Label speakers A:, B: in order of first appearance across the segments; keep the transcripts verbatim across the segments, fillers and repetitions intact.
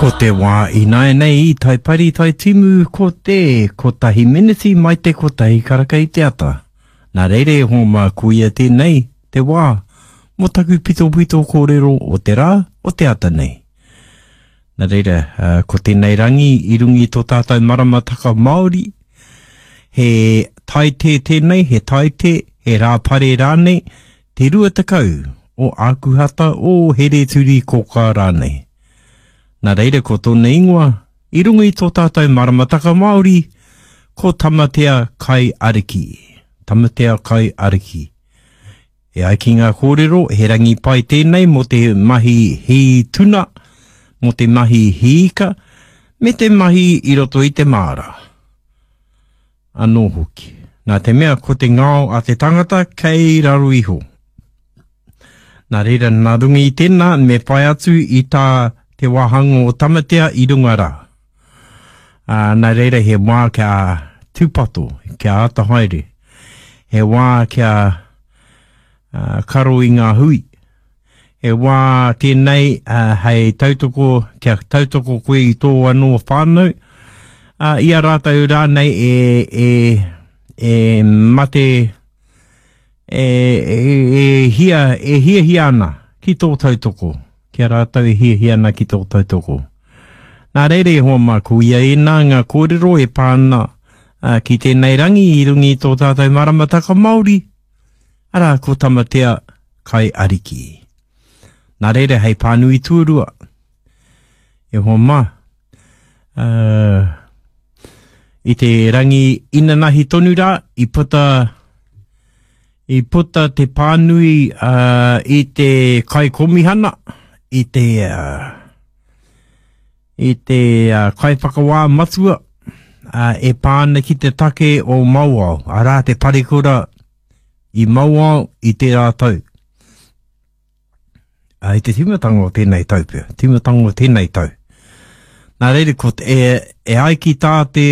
A: Ko te wā ināianei i Taipari Taitimu ko te kotahi miniti mai te kotahi karaka i te ata. Nā reira e hoa mā koia tēnei te wā mō taku pitopito kōrero o te rā o te ata nei. Nā reira, ko tēnei rangi i runga i tō tātou maramataka Māori, he taite tēnei, he taite, he rāpare rānei, te rua tekau o Ākuhata o Hereturi Kōkā rānei. Nā reira ko tōna ingoa, i runga i tō tātou maramataka Māori, ko Tamatea Kai Ariki. Tamatea Kai Ariki. E ai ki ngā kōrero, he rangi pai tēnei mō te mahi hī tuna, mō te mahi hīika, me te mahi i roto i te māra. Anō hoki. Nā te mea ko te ngao a te tangata kei raro iho. Nā reira, nā runga i tēnā, me whai atu i tā te wāhanga o Tamatea i runga rā. Ā, nā reira, he wā kia tūpato, kia āta haere. He wā kia uh, karo i ngā hui. He wā tēnei uh, hei tautoko, kia tautoko koe i tō anō whānau, uh, i a rātou rānei e, e, e mate, e, e, e, hia, e hiahia ana ki tō tautoko, ki a rātou e hiahia ana ki tō tautoko. Nā reira e hoa mā, ko ia ēnā ngā kōrero e pā ana uh, ki tēnei rangi i runga i tō tātou maramataka Māori, arā ko Tamatea Kai Ariki. Nā reira hei pānui tuarua, e hoa mā, uh, i te rangi inanahi tonu rā, i puta i puta te pānui uh, i te kaikomihana, i te, uh, i te uh, kaiwhakawā matua uh, e pā ana ki te take o Mauao, arā te parekura i Mauao i tērā tau. Uh, i te tīmatanga o tēnei tau pea, tīmatanga o tēnei tau. Nā reira, ko te, e, e ai ki tā te,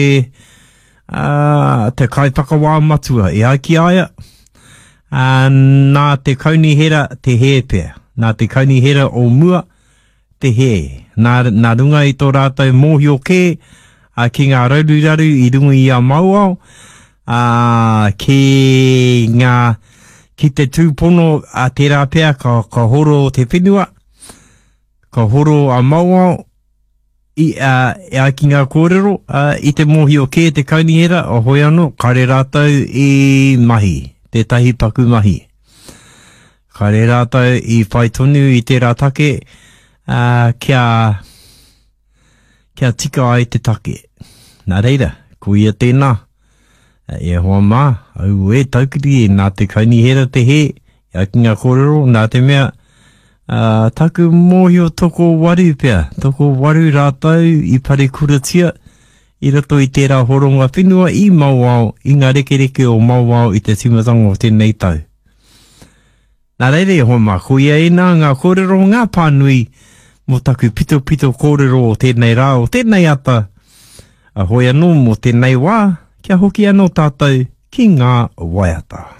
A: uh, te kaiwhakawā matua, e ai ki a ia, Uh, nā te kaunihera te hē pea, nā te kaunihera o mua te hē, nā, nā runga i tō rātou mōhio kē uh, ki ngā raruraru i runga i a Mauao, uh, ki ngā, ki te tūpono a tērā pea ka, ka horo te whenua, ka horo a Mauao, i, uh, e ai ki ngā kōrero, uh, i te mōhio kē te kaunihera, o hoi anō, kare rātou i mahi, tētahi paku mahi. Kare rātou i whai tonu i tērā take, uh, kia, kia tika ai te take. Nā reira, ko ia tēnā, e hoa mā, au e taukiri, nā te kaunihera te hē, e ai ki ngā kōrero, nā te mea, uh, taku mōhio toko waru pea, toko waru rātou i parekuratia, i roto i tērā horonga whenua i Mauao, i ngā rekereke o Mauao i te tīmatanga o tēnei tau. Nā reira e hoa mā, ko ia ēnā ngā kōrero, ngā pānui mō taku pitopito kōrero o tēnei rā, o tēnei ata, a hoi anō mō tēnei wā, kia hoki anō tātou ki ngā waiata.